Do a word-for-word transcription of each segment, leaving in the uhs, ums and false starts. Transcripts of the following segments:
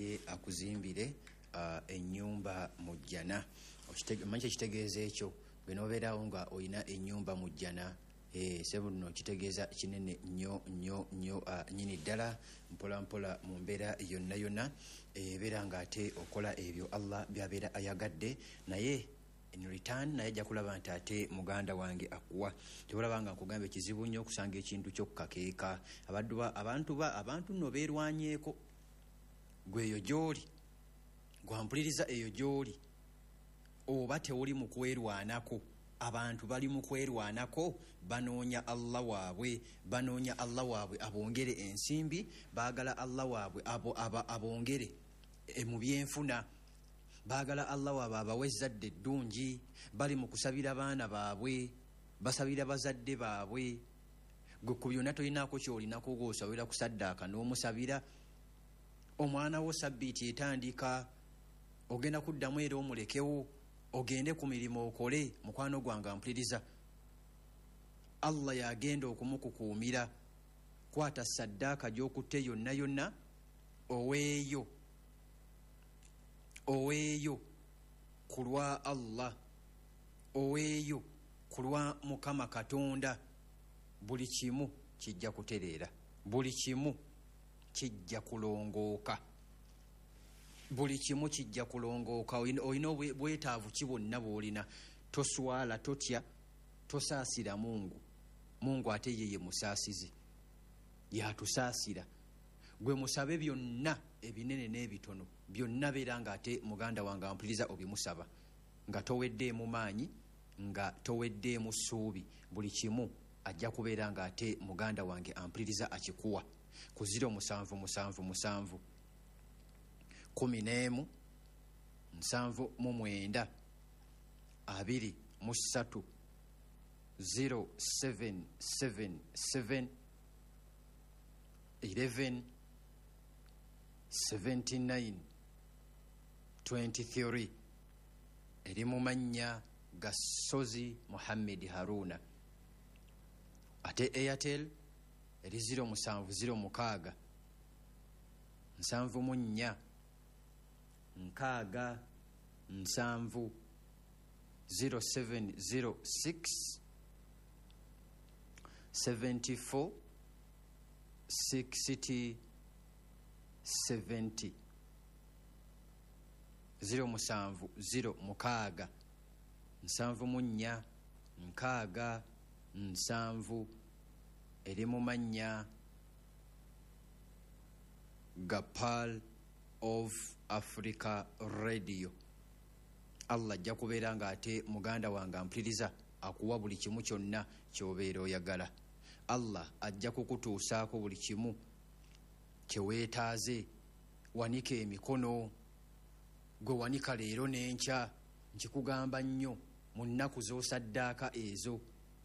Naye akuzimbire uh, ennyumba mu jjana. Omanyi kyekitegeeza ekyo? Gwe n'obeerawo nga olina ennyumba mu jjana, eh, sebo nno kitegeeza kinene nnyo nnyo nnyo uh, nnyini ddala. Mpola mpola mu mbeera yonna yonna ebeera ng'ate okola ebyo Allah by'abeera ayagadde, naye in return naye ajja kulaba nti ate muganda wange akuwa. Tebalaba nga nkugamba ekizibu nnyo okusanga ekintu ky'okukakeeka. Abaddu ba- abantu ba abantu nno beerwanyeeko. Gwe eyo gy'oli, gwampuliriza eyo gy'oli, oba tewuli mu kwerwanako, abantu bali mu kwerwanako, banoonya Allah waabwe, banoonya Allah waabwe abongere ensimbi, baagala Allah waabwe abo, aba, abongere e, mu byenfuna, baagala Allah waabwe abawe ezzadde eddungi, bali mu kusabira baana baabwe, basabira bazadde baabwe. Gwe ku byonna tolinaako ky'olinako, gw'osabira kusaddaaka n'omusabira omwana wo. Sabbiiti etandika, ogenda kuddamu era omulekewo ogende ku mirimu okole. Mukwano gwange ampuliriza, Allah yagenda okumukukuumira. Kwata saddaaka gy'okutte yonna yonna, oweeyo, oweeyo ku lwa Allah, oweeyo ku lwa Mukama Katonda. Buli kimu kijja kutereera, buli kimu kijja kulongooka, buli kimu kijja kulongooka. Olina olina obwe- bwetaavu ki bwonna bw'olina, toswala, totya, tosaasira Mungu. Mungu ate ye ye musaasizi, yatusaasira. Gwe musabe byonna ebinene n'ebitono byonna, beera nga ate muganda wange ampuliriza obimusaba nga toweddeemu maanyi, nga toweddeemu ssuubi. Buli kimu ajja kubeera nga ate muganda wange ampuliriza akikuwa ku zero musanvu musanvu musanvu kumi n'emu nsanvu mu mwenda abiri mu ssatu, zero seven seven seven eleven seventy-nine twenty-three. Eri mu mannya ga Sozi Muhammed Haruna. Ate Airtel eri zero musanvu zero mukaaga nsanvu mu nnya nkaaga nsanvu, zero seven zero six seventy-four sixty seventy, zero musanvu zero mukaaga nsanvu mu nnya nkaaga nsanvu. Eri mu mannya ga Pearl of Africa Radio. Allah ajja kubeera nga ate muganda wange ampuliriza akuwa buli kimu kyonna ky'obeera oyagala. Allah ajja kukutuusaako buli kimu kyeweetaaze. Wanika emikono, gwe wanika leero n'enkya. Nkikugamba nnyo, mu nnaku z'osaddaaka ezo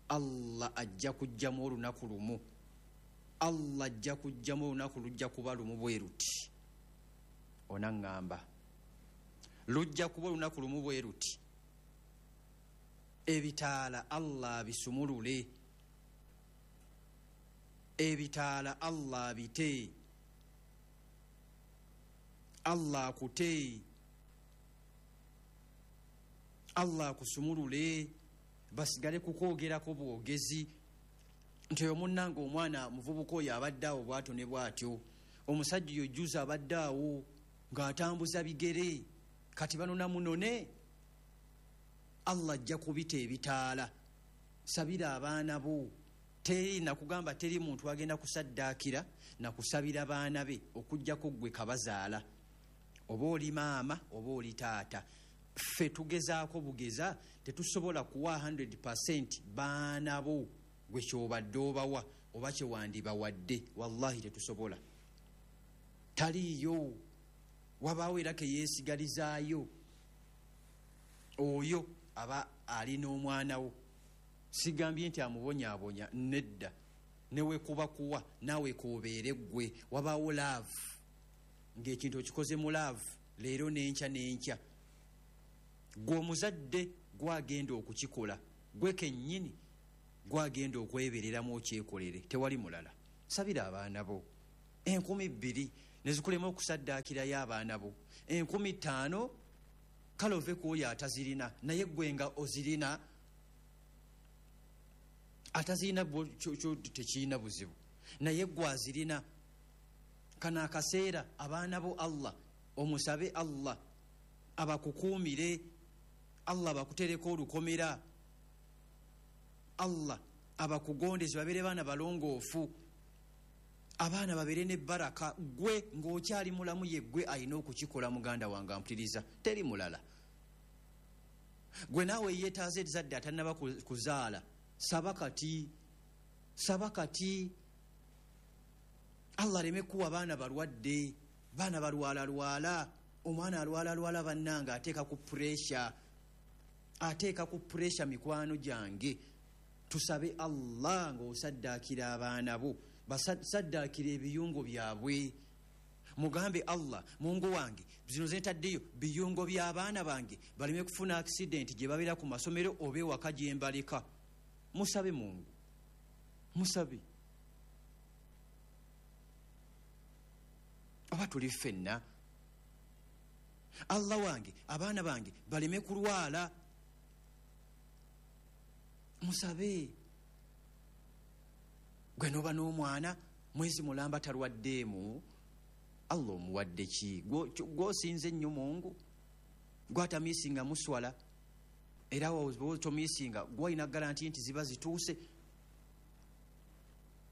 Allah ajja kujjamu olunaku lumu, Allah ajja kujjamu olunaku, lujja kuba lumu bwe luti. Onaŋŋamba lujja kuba olunaku lumu bwe luti, ebitaala Allah abisumulule, ebitaala Allah abite, Allah akute, Allah akusumulule, basigale kukwogerako bwogezi nti oyo munnange omwana muvubuka oyo abadde awo bwatyo ne bwatyo, omusajja oyo juzi abadde awo ng'atambuza bigere, kati banona munone. Allah ajja kubita ebitaala. Sabira abaana bo. Teri nakugamba, teri muntu agenda kusaddaakira nakusabira baana be okugjako ggwe kabazaala, oba oli maama oba oli taata. Ffe tugezaako bugeza, tetusobola kuwa kikumi baana bo gwe kyobadde obawa oba kyewandibawadde, wallahi tetusobola, taliiyo. Wabaawo era keyeesigalizaayo oyo aba alina omwana wo. Sigambye nti amubonyaabonya, nedda, newekuba kuwa naawe kobeere ggwe. Wabaawo love, ng'ekintu okikoze mu love, leero n'enkya n'enkya. Gwe omuzadde gwagenda okukikola, gwe kennyini gwagenda okwebereramu okyekolere, tewali mulala. Sabira abaana bo enkumi bbiri. Nezikulema okusaddaakirayo abaana bo. Enkumi ttaano kale ove ku oyo atazirina, naye ggwe nga ozirina, atazirina tekirina buzibu, naye ggwe azirina. Kano akaseera abaana bo Allah omusabe Allah abakukuumire, Allah abakutereko olukomera, Allah abakugondeze babeere baana balongoofu, abaana babeere ne baraka. Gwe ng'okyali mulamu ye gwe alina okukikola. Muganda wange ampuliriza, teri mulala. Gwe naawe yeetaaze ezzadde atannaba kuzaala, saba kati, saba kati. Allah aleme kuwa baana balwadde, baana balwalalwala. Omwana alwalalwala bannange ateeka ku puresha, ateeka ku puresha. Mikwano gyange, tusabe Allah ng'osaddaakira abaana bo, basaddaakira ebiyungo byabwe. Mugambe Allah, Mungu wange, zino ze ntaddeyo biyungo by'abaana bange baleme kufuna accident gye babeera ku masomero oba ewaka gye mbaleka. Musabe Mungu, musabe. Oba tuli ffenna. Allah wange, abaana bange baleme kulwala. Musabe. Gwe n'oba n'omwana mwezi mulamba talwaddeemu, Allah omuwadde ki? Gw'osinze nnyo Mungu, gw'atamiisinga muswala, era tomiisinga gw'olina garanti nti ziba zituuse.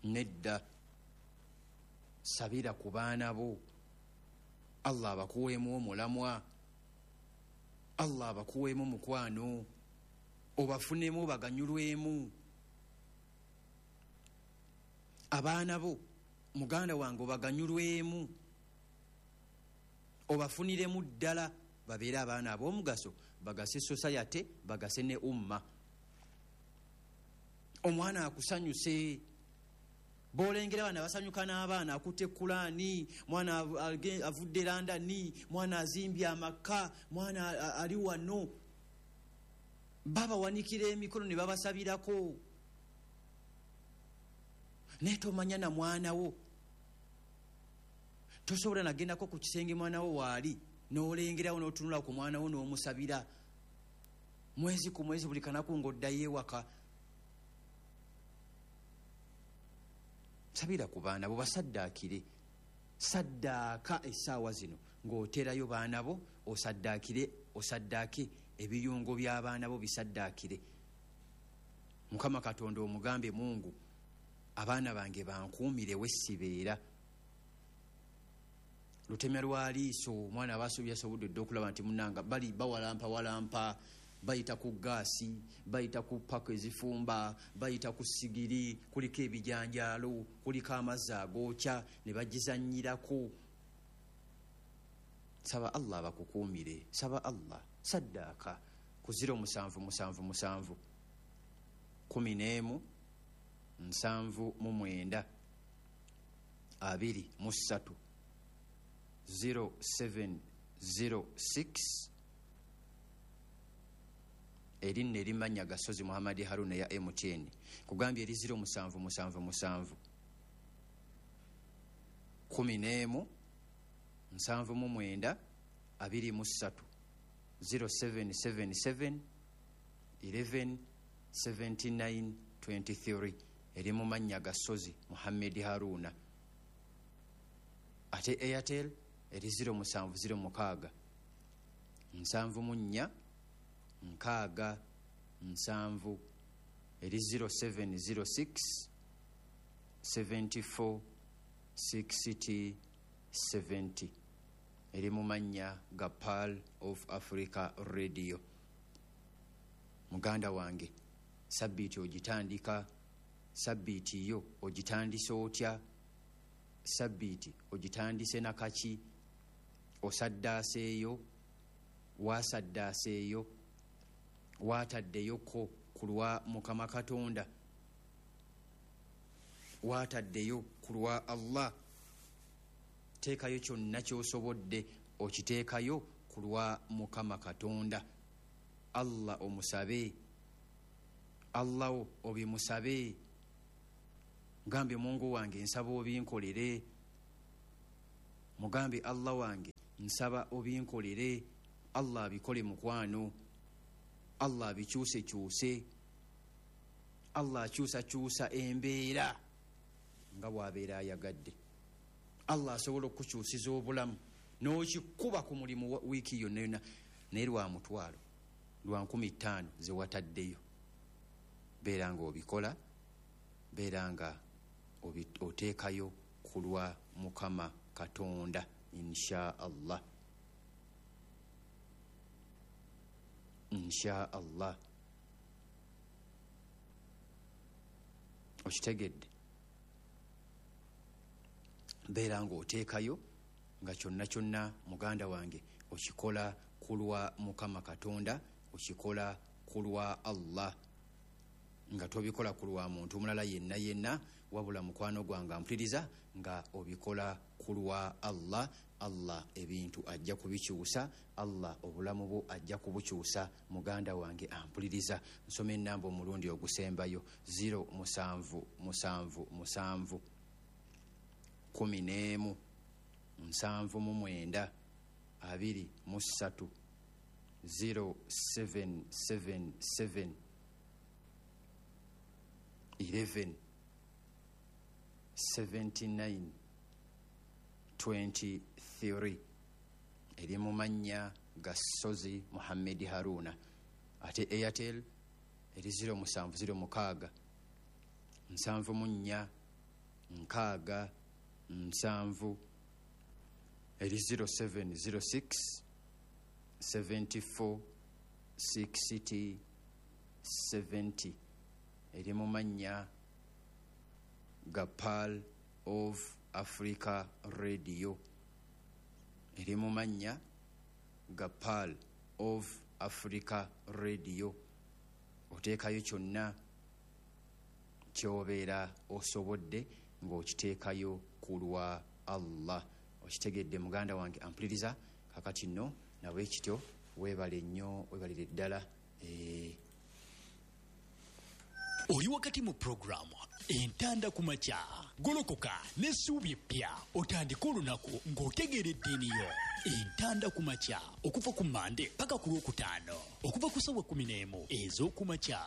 Nedda, sabira ku baana bo, Allah abakuweemu omulamwa, Allah abakuweemu mukwano, obafunemu obaganyulwemu. Abaana bo muganda wange obaganyulwemu, obafuniremu ddala, babeere abaana ab'omugaso, bagase society, bagase ne umma. Omwana akusanyuse, b'olengera abaana basanyuka n'abaana, akutte Kulaani, mwana avudde London, mwana azimbye amaka, mwana ali wano, babawanikira emikono ne babasabirako. Naye tomanya na mwana wo, tosobola nagendako ku kisenge mwana wo waali n'olengerawo n'otunula ku mwana wo n'omusabira mwezi ku mwezi, buli kanaku ng'oddayo ewaka. Sabira ku baana bo, basaddaakire. Saddaaka essaawa zino ng'oterayo baana bo, osaddaakire, osaddaake ebiyungo by'abaana bo, bisaddaakire. Mukama Katonda omugambe, Mungu, abaana bange bankuumire wessibeera. Lutemya lwa liiso, omwana aba yasobodde dda okulaba nti munnanga bali bawalampa walampa, bayita ku gaasi, bayita ku paka ezifumba, bayita ku sigiri, kuliko ebijanjaalo, kuliko amazzi agookya, ne bagizannyirako. Saba Allah abakukuumire, saba Allah. Saddaaka ku ziro musanvu musanvu musanvu kumi n'emu nsanvu mu mwenda abiri mu ssatu zero seven zero six. Erinnya erimanya Gasozi Muhammad Haruna ya M T N. Kugambye eri ziro musanvu musanvu musanvu kumi n'emu nsanvu mu mwenda abiri mu ssatu zero seven seven seven eleven seventy nine twenty three. Eri mu mannya Gasozi Muhammad Haruna. Ate Airtel eri ziro musanvu ziro mukaaga nsanvu mu nnya nkaaga nsanvu, eri zero seven zero six seventy four sixty seventy. Eri mu mannya ga Pearl of Africa Radio. Muganda wange, sabbiiti ogitandika, sabbiiti yo ogitandise otya? Sabbiiti ogitandise nakaki? Osaddaaseeyo? Waasaddaaseeyo? Waataddeyoko ku lwa Mukama Katonda? Waataddeyo ku lwa Allah? Teekayo kyonna ky'osobodde, okiteekayo ku lwa Mukama Katonda. Allah omusabe, Allah wo obimusabe. Gambye Mungu wange nsaba obinkolere. Mugambe Allah wange nsaba obinkolere. Allah abikole mukwano, Allah abikyuse kyuse, Allah akyusa kyusa embeera nga bw'abeera ayagadde. Allah asobola okukyusiza obulamu n'okikuba ku mulimu wiiki yonna yonna, naye lwa mutwalo lwa nkumi ttaano ze wataddeyo. Beera ng'obikola, beera nga oteekayo ku lwa Mukama Katonda insha Allah, insha Allah. Okitegedde? Beera ng'oteekayo nga kyonna kyonna muganda wange okikola ku lwa Mukama Katonda, okikola ku lwa Allah, nga tobikola ku lwa muntu mulala yenna yenna, wabula mukwano gwange ampuliriza nga obikola ku lwa Allah. Allah ebintu ajja kubikyusa, Allah obulamu bwo ajja kubukyusa. Muganda wange ampuliriza, nsoma ennamba omulundi ogusembayo zero musanvu musanvu musanvu kumi n'emu nsanvu mu mwenda abiri mu ssatu zero seven seven seven eleven seventy nine twenty three. Eri mu mannya ga Ssozi Muhammad Haruna. Ate Airtel eri zero musanvu zero mukaaga nsanvu mu nnya nkaaga nsanvu, eri zero seven zero six seventy four sixty seventy. Eri mu mannya ga Pearl of Africa Radio, eri mu mannya ga Pearl of Africa Radio. Oteekayo kyonna ky'obeera osobodde ng'okiteekayo ku lwa Allah. Okitegedde muganda wange ampuliriza? Kakati nno nabwe kityo, weebale nnyo, weebalire ddala. Eh, oli wakati mu puroguramu Entanda ku Makya. Golokoka n'essuubi eppya, otandike olunaku ng'otegeera eddiini yo. Entanda ku Makya okuva ku Mande paka ku Lwokutaano, okuva ku ssaawa kkumi n'emu ez'okumakya.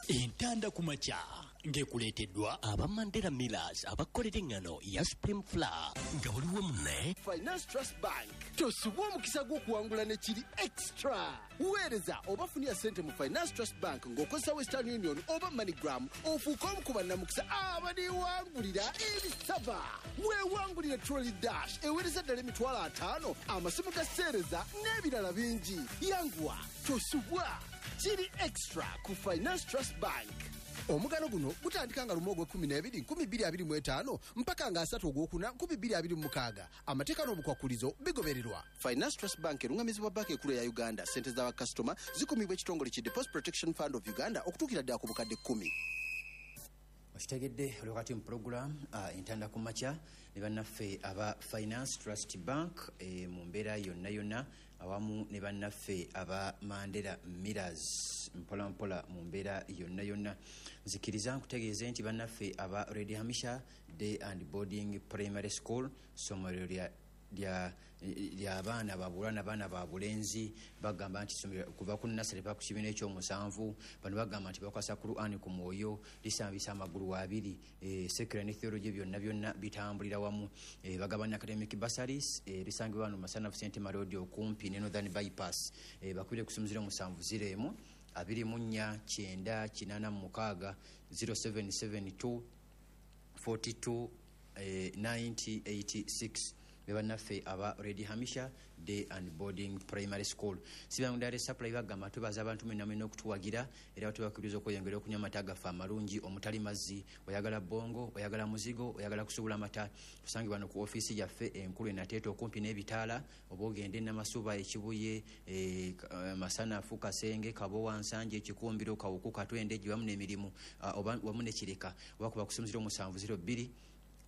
Entanda ku Makya ng'ekuleeteddwa aba Mandela Millers abakolera eŋŋano ya Supreme Flour nga buli wamu ne Finance Trust Bank. Tosubwa omukisa gw'okuwangula ne kiri extra. Weereza oba funira ssente mu Finance Trust Bank ng'okozesa Western Union oba MoneyGram, ofuuke omu ku bannamukisa abaliwangulira ebisaba. Weewangulire Trolley Dash eweereza ddala emitwalo ataano, amasimu ga seereza n'ebirala bingi. Yanguwa, tosubwa, kiri extra ku Finance Trust Bank. Omugano guno gutandika nga lumu ogw'ekkumi n'ebiri nkumi bbiri abiri mu etaano mpaka nga asatu ogwokuna nkumi bbiri abiri mu mukaaga. Amateeka n'obukwakulizo bigobererwa. Finance Trust Bank erungamizibwa banka enkulu eya Uganda. Ssente z'abakasitoma zikumibwa ekitongole ki Deposit Protection Fund of Uganda okutuukira ddala ku bukadde kkumi. Okitegedde? Oli wakati mu puroguramu uh, Entanda ku Makya ne bannaffe aba Finance Trust Bank e, mu mbeera yonna yonna, awamu ne bannaffe aba Mandela Millers mpola mpola mu mbeera yonna yonna. Nzikiriza nkutegeeze nti bannaffe aba Red Hamisha Day and Boarding Primary School, ssomero lya lya abaana babuwala n'abaana ba bulenzi, bagamba nti ssomero kuva ku nursery paka ku kibiina ekyomusanvu. Bano bagamba nti bakwasa Qur'an ku mwoyo, lisambisa amagulu abiri, e, secular ne theology byonna byonna bitambulira wamu. E, bagabana academic bursaries, e, lisangibwa wano Masanafu Saint Marodi okumpi ne Northern Bypass. E, bakubire ku ssimu zero musanvu zero emu abiri mu nnya kyenda kinaana mu mukaaga zero seven seven two forty two ninety eighty six. Be bannaffe aba Red Hamisha Day and Boarding Primary School. Sibangudare Supply bagamba tubaza abantu mwenna mwenna okutuwagira, era tubakubiriza okweyongera okunywa amata gaffe amalungi omutali mazzi. Oyagala bongo, oyagala muzigo, oyagala kusuubula amata, tusangibwa wano ku ofiisi yaffe enkulu e Nateete okumpi n'ebitaala, oba ogende e Namasuba, Ekibuye, e, Masanafu, Kasenge, Kabowa, Nsanje, Ekikumbiro, Kawuku, Katwende, wamu n'emirimu, oba wamu ne Kireka. Oba kuba ku ssimu zero musanvu zero bbiri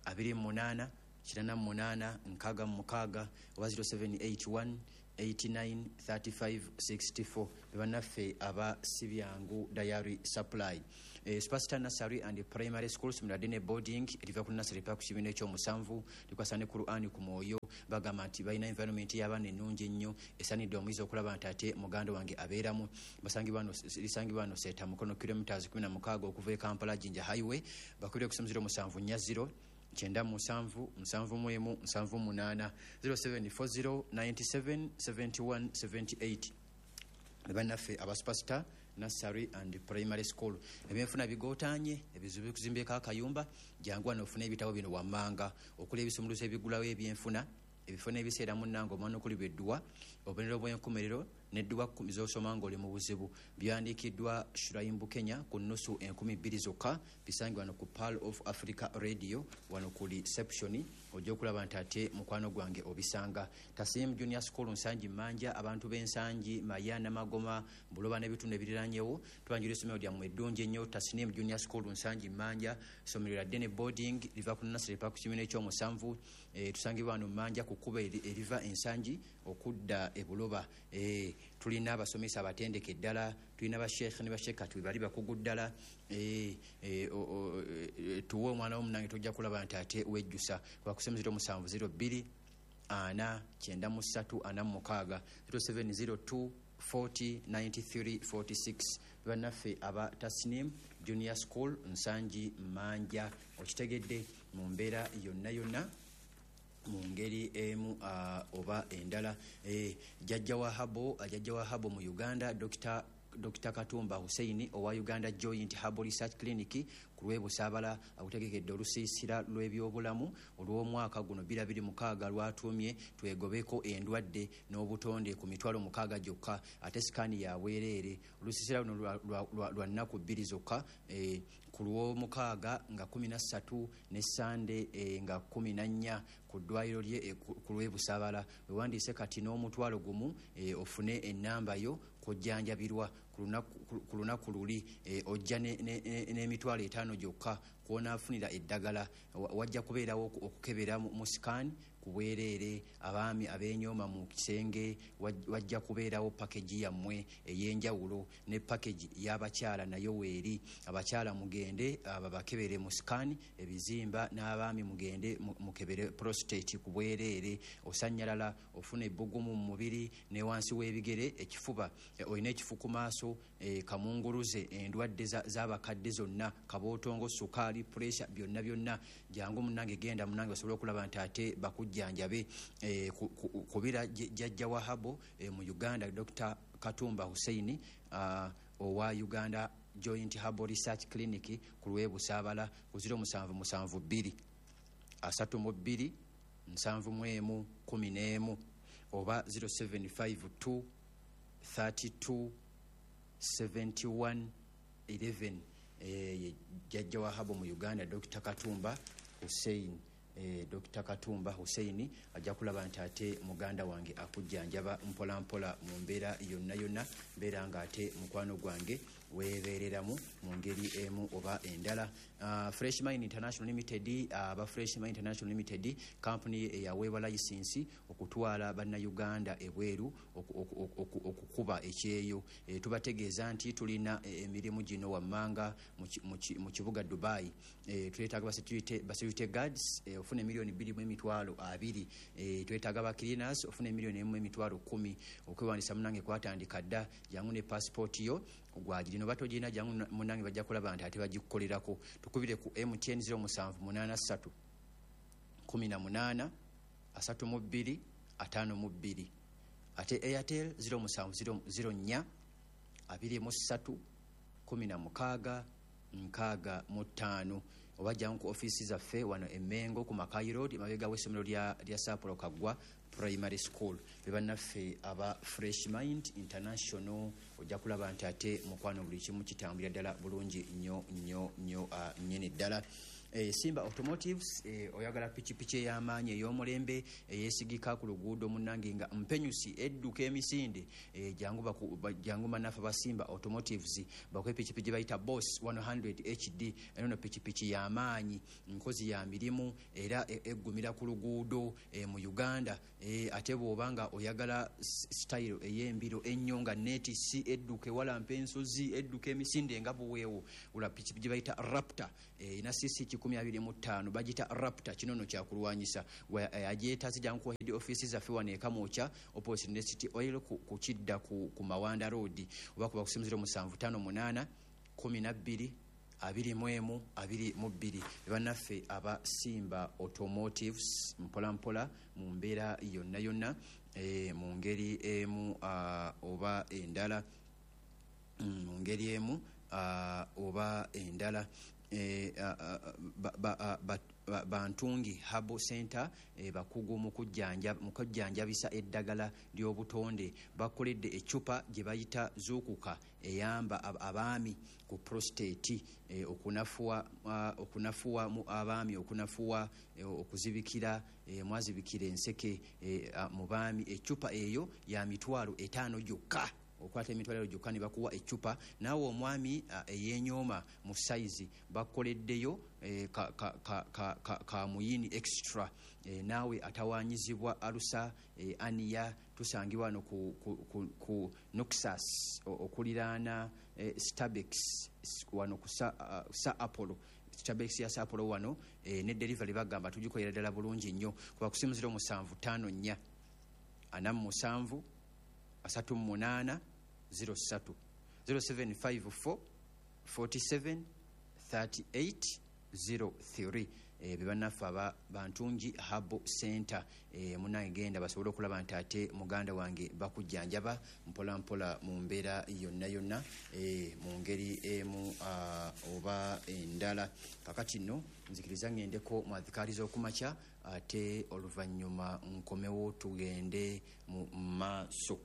abiri mu munaana kinana munaana nkaaga mu mukaaga oba zero seven eight one eighty-nine thirty-five sixty-four. Bannaffe aba Sibyangu Diary Supply. Eh, Superstar Nursery and Primary School Similadene Boarding eriva ku nursery pa ku kibiina ekyomusanvu likwasa ne Qur'an ku mwoyo. Bagamba nti balina environment y'abaana ennungi ennyo esaanidde omuyizi okulaba nti ate muganda wange abeeramu. Basangibwa wano, lisangibwa wano Seeta Mukono kilometers kumi na mukaaga okuva e Kampala Jinja Highway. Bakubire ku zero musanvu nnya zero kyenda musanvu musanvu mu emu nsanvu munaana zero seven four zero ninety-seven seventy-one seventy-eight. Bannaffe aba Superstar Nursery and Primary School. Ebyenfuna bigootanye, ebizibu bikuzimbeko akayumba, jangu wano ofune ebitabo bino wammanga okuli ebisumuluzo ebigulawo ebyenfuna, ebifo n'ebiseera munnange omwana okulibwa edduwa, obubonero bw'enkomerero n'edduwa kkumi z'osoma ng'oli mu buzibu. Byawandiikiddwa Shuraim Bukenya ku nnusu enkumi bbiri zokka, bisangibwa wano ku Pearl of Africa Radio wano ku reception, ojja okulaba nti ate mukwano gwange obisanga. Tasiim Junior School Nsangi Mmanja, abantu b'Ensangi, Maya, Namagoma, Buloba n'ebitundu ebiriranyewo, tubanjula essomero lyammwe eddungi ennyo. Tasiim Junior School Nsangi Mmanja, essomero lya Dene Boarding liva ku nursery pa ku kibiina ekyomusanvu. Eh, tusangibwa wano Mmanja ku kkubo eriva Ensangi okudda e Buloba. Eh, tulina abasomesa abatendeke ddala, tulina basheekh ne basheekh bali bakugu ddala. Eh, eh, tuwe omwana wo munnange tojja kulaba nti ate wejjusa. Kuba zero musanvu zero bbiri ana kyenda mu ssatu ana mu mukaaga zero seven zero two forty ninety-three forty-six. Bannaffe aba Tasnim Junior School Nsangi Mmanja, okitegedde mu mbeera yonna yonna mu ngeri emu uh, oba endala. Eh, jjajja wa Habo, jjajja wa Habo mu Uganda Doctor Doctor Katumba Hussein owa Uganda Joint Herbal Research Clinic ku lw'e Busaabala akutegekedde olusiisira lw'ebyobulamu olw'omwaka guno bbiri abiri mukaaga lwatuumye twegobeko endwadde n'obutonde ku mitwalo mukaaga gyokka, ate sikaani ya bwereere. Olusiisira luno lwa, lwa, lwa, lwa nnaku bbiri zokka, eh, ku lw'omukaaga nga kkumi na ssatu ne Sande eh, nga kkumi na nnya ku ddwaliro lye eh, ku lw'e Busaabala. Wewandiise kati n'omutwalo gumu eh, ofune ennamba yo kujjanjabirwa ku lunaku luli, eh, ojja n'emitwalo etaano gyokka kw'onaafunira eddagala. Wajja kubeerawo okukebera mu scan ku bwereere, abaami ab'enyooma mu kisenge, wajja kubeerawo package yammwe ey'enjawulo ne package y'abakyala nayo weeri. Abakyala mugende babakebere mu scan ebizimba, n'abaami mugende mukebere prostate ku bwereere. Osannyalala, ofuna ebbugumu mu mubiri ne wansi w'ebigere, ekifuba, olina ekifu ku maaso, kamunguluze, endwadde z'abakadde zonna, kabootongo, sukaali, pressure, byonna byonna. Jangu munnange, genda munnange osobole okulaba nti ate bakujjanjabe. Kubira jjajja wa Habo mu Uganda Doctor Katumba Hussein owa Uganda Joint Herbal Research Clinic ku lw'e Busaabala ku zero musanvu musanvu bbiri asatu mu bbiri nsanvu mu emu kkumi n'emu oba zero seven five two thirty-two seventy-one eleven. Eh, jjajja wa Habo mu Uganda Doctor Katumba Hussein. Eh, Doctor Katumba Hussein ajja kulaba nti ate muganda wange akujjanjaba mpola mpola mu mbeera yonna yonna, mbeera nga ate mukwano gwange weebeereramu mu ngeri emu oba endala. Uh, Fresh Mind International Limited, aba uh, Fresh Mind International Limited company eyaweebwa layisinsi okutwala bannayuganda ebweru okukuba ekyeyo. E, tubategeeza nti tulina emirimu gino wammanga mu kibuga Dubai. E, twetaaga ba security guards, e, ofuna miliyoni bbiri mu emitwalo abiri. E, twetaaga ba cleaners, ofuna miliyoni emu emitwalo kkumi. Okwewandiisa munnange kwatandika dda, jangu ne passport yo gwagirino batogirina, jangu munnange bajja kulaba nti ate bagikukolerako. Tukubire ku M T N zero musanvu munaana ssatu kkumi na munaana asatu mu bbiri ataano mu bbiri, ate Airtel zero musanvu zero nnya abiri mu ssatu kkumi na mukaaga nkaaga mu ttaano. Oba jangu ku ofiisi zaffe wano e Mengo ku Makai Road emabega w'essomero lya, lya Sapporo Kaggwa Primary School. Be bannaffe aba Fresh Mind International, ojja kulaba nti ate mukwano buli kimu kitambulira ddala bulungi nnyo nnyo nnyo nnyini ddala. Eh, Simba Automotives, eh, oyagala pikipiki ey'amaanyi, ey'omulembe, eyeesigika ku luguudo, munnange, nga mpenyusi, edduka emisinde, eh, jangu baku- ba- jangu bannaffe ba Simba Automotives bakuwe pikipiki bayita Boss one hundred H D. Eno no pikipiki y'amaanyi, nkozi ya mirimu, era e- eggumira ku luguudo eh, mu Uganda. eh, ate bw'oba nga oyagala s- style ey'embiro ennyo, nga neetisi, edduka ewalampa ensozi, edduka emisinde nga buweewo, ula pikipiki bayita Raptor, erina C C kikumi abiri mu ttaano, bagita Raptor. Kino no kyakulwanyisa. Agyetaaze, jangu ku head office zaffe wano e Kamwokya, opposite ne City Oil, ku, ku kidda ku, ku Mawanda Road, oba kuba kusimu zero musanvu ttaano munaana kumi na bbiri abiri mu emu abiri mu bbiri. Bannaffe aba Simba Automotives, mpola mpola mu mbeera yonna yonna, e, mu ngeri emu uh, oba endala, Mm, mu ngeri emu uh, oba endala, eh, ah, ah, ba- ba- ah, ba- ba- Bantungi Herbal Center, eh, bakugu mu kujjanja- mu kujjanjabisa eddagala ly'obutonde. Bakoledde eccupa gye bayita Zuukuka, eyamba ab- abaami ku prostate, eh, okunafuwa ah, okunafuwa mu abaami, okunafuwa, eh, okuzibikira, eh, mwazibikira enseke, eh, ah, mu baami. Eccupa eyo ya mitwalo etaano gyokka. Okwata emitwalo gyokka ne bakuwa eccupa. Naawe omwami ah, eyeenyooma mu sayizi, bakoleddeyo eh, ka, ka, ka, ka, ka, ka muyini extra. eh, naawe atawanyizibwa alusa, eh, aniya, tusangibwa wano ku, ku, ku, ku Noxus, o- okuliraana eh, Stabex, wano ku sa, uh, sa Apollo, Stabex ya sa Apollo wano. eh, ne delivery bagamba tugikolera ddala bulungi nnyo. Kuba kusimu zero musanvu ttaano nnya ana mu musanvu asatu mu munaana zero ssatu, zero seven five four forty-seven thirty-eight zero three. Eh, be bannaffe aba Bantungi Herbal Center. eh, munange genda basobole okulaba nti ate muganda wange bakujjanjaba mpola mpola mu mbeera yonna yonna, eh, mu ngeri emu ah, oba endala. Kakati nno nzikiriza ŋŋendeko mu adhikaari z'okumakya, ate oluvannyuma nkomewo tugende mu maaso.